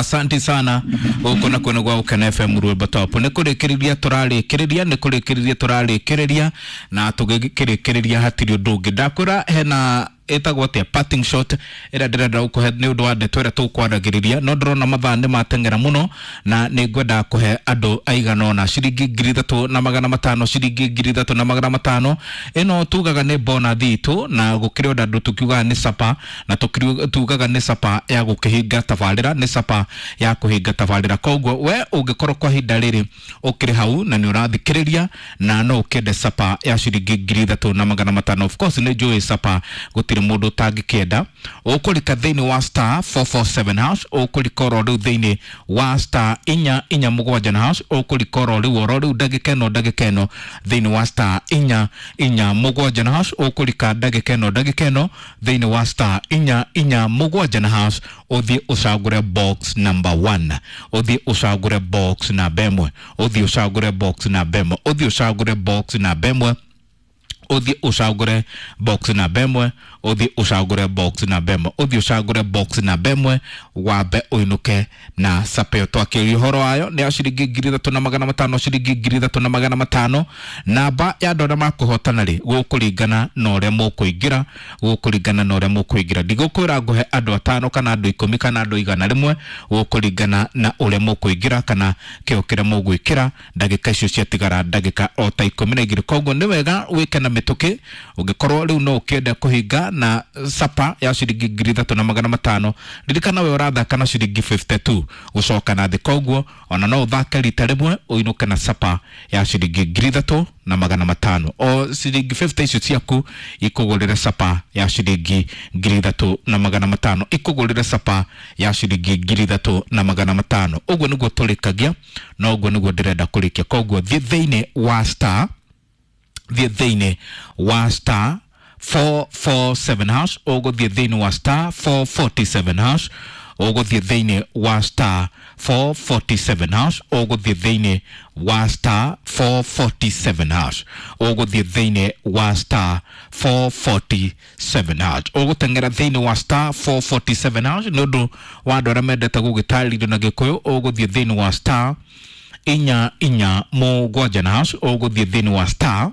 Asante sana. Gũkũ nakuo nĩ gwa Gũkena FM Rwĩmbo Top. Nĩ kũrĩkĩrĩria tũrarĩkĩrĩria, nĩ kũrĩkĩrĩria tũrarĩkĩrĩria, na tũgĩkĩrĩkĩrĩria hatirĩ ũndũ ũngĩ. Ndakwĩra hena ĩtagwo atĩa parting shot ĩrĩa ndĩrenda gũkũhe nĩ ũndũ wa ndeto ĩrĩa tũkwaragĩrĩria, no ndĩrona mathaa nĩ mateng'era mũno na nĩ ngwenda kũhe andũ aigana ũna ciringi 3500, ciringi 3500. Ĩno tugaga nĩ bonathi itũ, na gũkĩrĩ ona andũ tũkiugaga nĩ sapa, na tugaga nĩ sapa ya gũkĩhinga tabarĩra, nĩ sapa ya kũhinga tabarĩra. Koguo we ũngĩkorwo kwa ihinda rĩrĩ ũkĩrĩ hau na nĩ ũrathikĩrĩria na no ũkĩende sapa ya ciringi 3500, of course nĩ njũĩ sapa gũtirĩ mũndũ ũtangĩkĩenda. Ũkũrika thĩinĩ wa star 447 hash, ũkũrika oro rĩu thĩinĩ wa star 447 na hash, ũkũrika oro rĩu oro rĩu ndagĩka ĩno ndagĩka ĩno thĩinĩ wa star 447 na hash, ũkũrika ndagĩka ĩno ndagĩka ĩno thĩinĩ wa star 447 na hash, ũthiĩ ũcagũre box number 1, ũthiĩ ũcagũre box namba 1, ũthiĩ ũcagũre box namba 1, ũthiĩ ũcagũre box namba 1, ũthiĩ ũcagũre box namba 1, ũthiĩ ũcagũre box namba 1, ũthiĩ ũcagũre box namba 1, wambe ũinũke na sapeo. Twakĩria ũhoro wayo nĩ ya ciringi 3500, ciringi 3500. Namba ya andũ arĩa makũhotana rĩ, gũkũringana na ũrĩa mũkũingĩra, gũkũringana na ũrĩa mũkũingĩra. Ndigũkwĩra ngũhe andũ 5 kana andũ 10 kana andũ 100, gũkũringana na ũrĩa mũkũingĩra kana kĩo kĩrĩa mũgwĩkĩra ndagĩka icio ciatigara ndagĩka o ta 12. Koguo nĩ wega wĩke na mĩtũkĩ ũngĩkorwo rĩu no ũkĩenda kũhinga na sapa ya ciringi 3500. Ririkana we ũrathaka na ciringi 52 gũcoka na thĩ, koguo ona no ũthake rita rĩmwe ũinũke na sapa ya ciringi 3500. O ciringi 50 icio ciaku ikũgũrĩre sapa ya ciringi 3500, ikũgũrĩre sapa ya ciringi 3500. Ũguo nĩguo tũrĩkagia na ũguo nĩguo ndĩrenda kũrĩkia. Koguo thiĩ thĩinĩ wa star, thiĩ thĩinĩ wa star 447 hash, ũgũthiĩ thĩinĩ wa star 447 hash, ũgũthiĩ thĩinĩ wa star 447 hash, ũgũthiĩ thĩinĩ wa star 447 hash, ũgũthiĩ thĩinĩ wa star 447 hash, ũgũteng'era thĩinĩ wa star 447 hash. Nĩ ũndũ wa andũ arĩa mendete gũgĩtarĩrio na Gĩkũyũ, ũgũthiĩ thĩinĩ wa star 447 na hash, ũgũthiĩ thĩinĩ wa star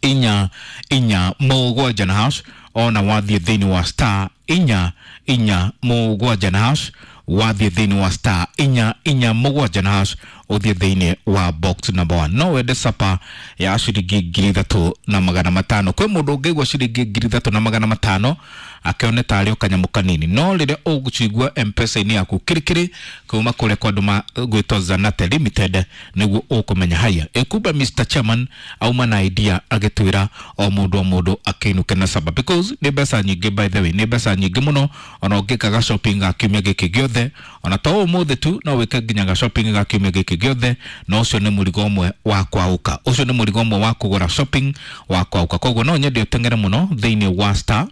447 na hash. Ona wathiĩ thĩinĩ wa star 447 na hash, wathiĩ thĩinĩ wa star 447 na hash, ũthiĩ thĩinĩ wa box number 1. No wende sapa ya ciringi 3500. Kwĩ mũndũ ũngĩigua ciringi 3500 akĩone tarĩ o kanyamũ kanini, no rĩrĩa ũgũcigua M-Pesa-inĩ yaku kirikiri kuma kũrĩa kwa andũ gwĩtwo Zanate Limited, nĩguo ũkũmenya haya ĩkumba Mr Chairman auma na idea agĩtwĩra o mũndũ o mũndũ akĩinũke na sapa, because nĩ mbeca nyingĩ, by the way nĩ mbeca nyingĩ mũno. Ona ũngĩka ga shopping ga kiumia gĩkĩ gĩothe, ona to ũmũthĩ tu, no wĩke nginya ga shopping ga kiumia gĩkĩ gĩothe, na ũcio nĩ mũrigo ũmwe wa kwaũka, ũcio nĩ mũrigo ũmwe wa kũgũra shopping wa kwaũka. Koguo no nyende ũteng'ere mũno thĩinĩ wa star,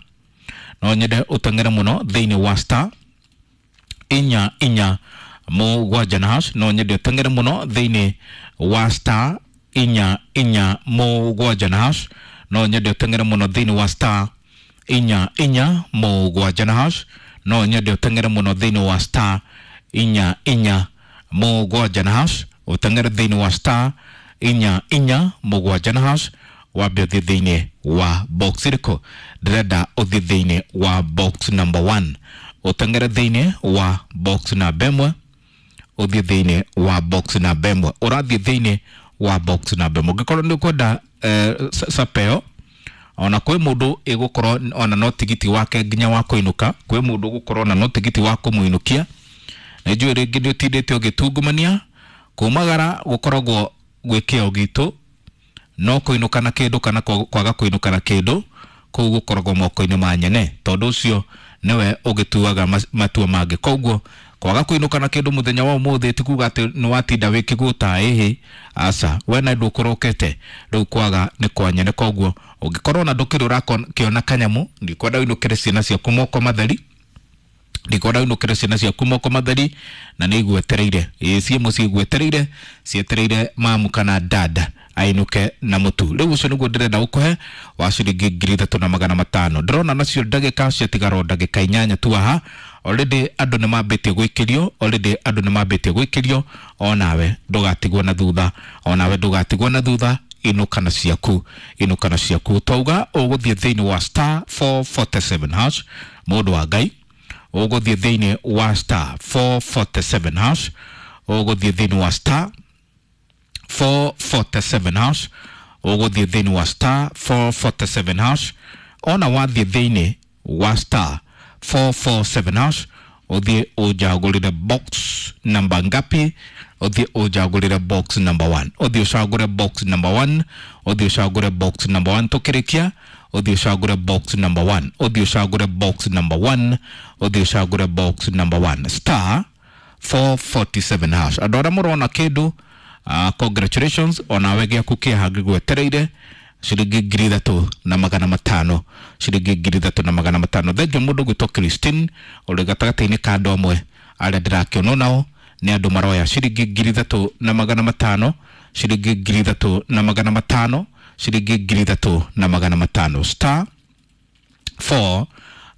no nyende ũteng'ere mũno thĩinĩ wa star 447 na hash, no nyende ũteng'ere mũno thĩinĩ wa star 447 na hash, no nyende ũteng'ere mũno thĩinĩ wa star 447 na hash, no nyende ũteng'ere mũno thĩinĩ wa star 447 na hash, ũteng'ere thĩinĩ wa star 447 na hash, wambe ũthiĩ thĩinĩ wa box ĩrĩkũ. Ndĩrenda ũthiĩ thĩinĩ wa box number 1, ũteng'ere thĩinĩ wa box namba 1, ũthiĩ thĩinĩ wa box namba 1, ũrathiĩ thĩinĩ wa box namba 1. Ũngĩkorwo nĩ ũkwenda sapeo, ona kwĩ mũndũ ĩgũkorwo ona no tigiti wake nginya wa kũinũka, kwĩ mũndũ ũgũkorwo ona no tigiti wa kũmũinũkia. Nĩ njũĩ rĩngĩ nĩ ũtindĩte ũgĩtungumania kumagara gũkoragwo gwĩ kĩo gitũ, no kũinũka na kĩndũ kana kwaga kũinũka na kĩndũ kũu gũkoragwo moko-inĩ ma nyene, tondũ ũcio nĩwe ũgĩtuaga matua mangĩ. Koguo kwaga kũinũka na kĩndũ mũthenya wa ũmũthĩ ti kuga atĩ nĩ watinda wĩ kĩgũta, ĩhĩ aca, we na ndũkũrokete rĩu kwaga nĩ kwa nyene. Koguo ũngĩkorwo na ndũkĩrĩ ũrakĩona kanyamũ, ndikwenda ũinũkĩre ciana ciaku moko matheri, ndikwenda ũinũkĩre ciana ciaku moko matheri, na nĩ igwetereire, ĩĩ ciĩ mũciĩ igwetereire, cietereire mamu kana dada ainũke na mũtu. Rĩu ũcio nĩguo ndĩrenda gũkũhe wa ciringi 3500. Ndĩrona nacio ndagĩka ciatigara o ndagĩka 8 tu haha. Already andũ nĩ mambĩtie gwĩkĩrio, already andũ nĩ mambĩtie gwĩkĩrio. Onawe ndũgatigwo na thutha, onawe ndũgatigwo na thutha. Inũka na ciaku, inũka na ciaku. Twauga ũgũthiĩ thĩinĩ wa star 447 hash. Mũndũ wa Ngai, ũgũthiĩ thĩinĩ wa star 447 hash, ũgũthiĩ thĩinĩ wa star 447 hash, ũgũthiĩ thĩinĩ wa star 447 hash. Ona wathiĩ thĩinĩ wa star 447 hash, ũthiĩ ũnjagũrĩre box namba ngapi? Ũthiĩ ũnjagũrĩre box number 1, ũthiĩ ũcagũre box number 1, ũthiĩ ũcagũre box number 1. Tũkĩrĩkia, ũthiĩ ũcagũre box number 1, ũthiĩ ũcagũre box number 1, ũthiĩ ũcagũre box number 1, star 447 hash. Andũ arĩa mũrona kĩndũ, congratulations, onawe gĩaku kĩaha ngĩgwetereire, ciringi 3500, ciringi 3500. Thengiũ mũndũ gwĩtwo Christine ũrĩ gatagatĩ-inĩ ka andũ amwe arĩa ndĩrakĩonwo nao nĩ andũ maroya ciringi 3500, ciringi 3500, ciringi 3500, star 4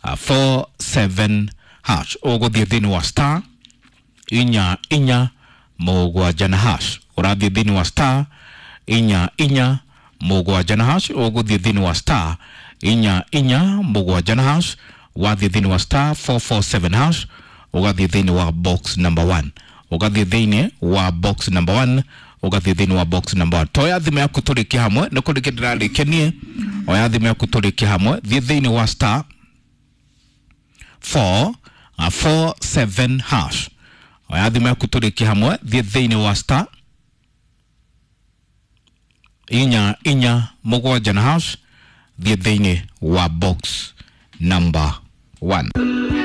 47 hash. Ũgũthiĩ thĩinĩ wa star 4 4 7 na hash. Ũrathiĩ thĩinĩ wa star 4 4 7 na hash. Ũgũthiĩ thĩinĩ wa star 4 4 7 na hash. Wathiĩ thĩinĩ wa star 447 hash, ũgathiĩ thĩinĩ wa box number 1, ũgathiĩ thĩinĩ wa box number 1, ũgathiĩ thĩinĩ wa box number 1. Toya thimũ yaku tũrĩkie hamwe, nĩ kũrĩkia ndĩrarĩkia niĩ. Oya thimũ yaku tũrĩkie hamwe, thiĩ thĩinĩ wa star 4 4 7 hash. Oya thimũ yaku tũrĩkie hamwe, thiĩ thĩinĩ wa star 4 4 7 na hash, thiĩ thĩinĩ wa box number 1.